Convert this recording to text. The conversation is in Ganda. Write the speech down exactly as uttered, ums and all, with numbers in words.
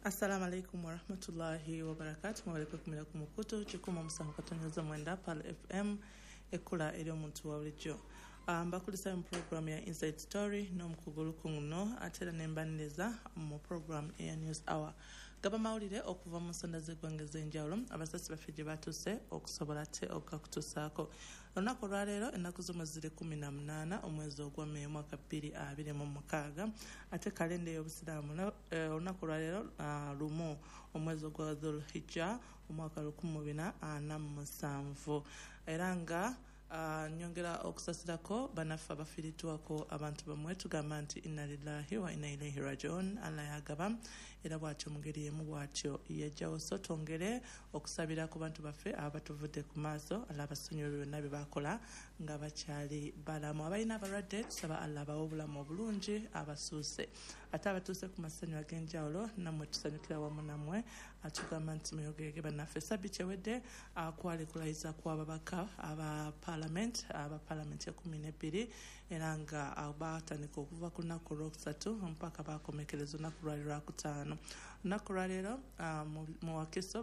Assalamu alaikum warahmatullahi wabarakatu. Mwebale kwekumira ku mukutu kikumi omusanvu katonyoza mwenda Pal F M, ekkula eri omuntu wa bulijjo. Mbakulisa mu program ya Inside Story n'omukugu Lukunguno, ate era ne mbaniriza mu program eya News Hour. Gaba mawulire okuva mu nsonda z'eggwanga ez'enjawulo abasasi baffe gye batuuse okusobola ate okugakutuusaako. Olunaku olwaleero ennaku z'omwezi ziri kkumi na munaana omwezi ogwa May mwaka bbiri abiri mu mukaaga, ate kalenda ey'obusiraamu olunaku olwaleero lumu omwezi ogwa Dhul-Hijja omwaka lukumi mu bina ana mu musanvu. Era nga Uh, nyongera okusasirako bannaffe abafiiriddwako abantu bamwe, tugamba nti inna lillahi wa inna ilaihi rajiun, Allah yagaba era bw'atyo mu ngeri emu bw'atyo yajjawo. So twongere okusabira ku bantu baffe abatuvudde ku maaso, Allah abasonyiwe byonna bye bakola nga bakyali balamu. Abalina abalwadde tusaba Allah abawe obulamu obulungi abasuuse, ate abatuuse ku masanyu ag'enjawulo nammwe tusanyukira wamu nammwe, atugamba nti muyogege bannaffe. Sabiti ewedde kwali kulayiza kw'ababaka aba Parliament, aba Parliament ya kumi n'ebbiri, era nga batandika okuva ku lunaku olwokusatu mpaka bakomekereza olunaku lwali lwakutaano. Olunaku lwaleero mu Wakiso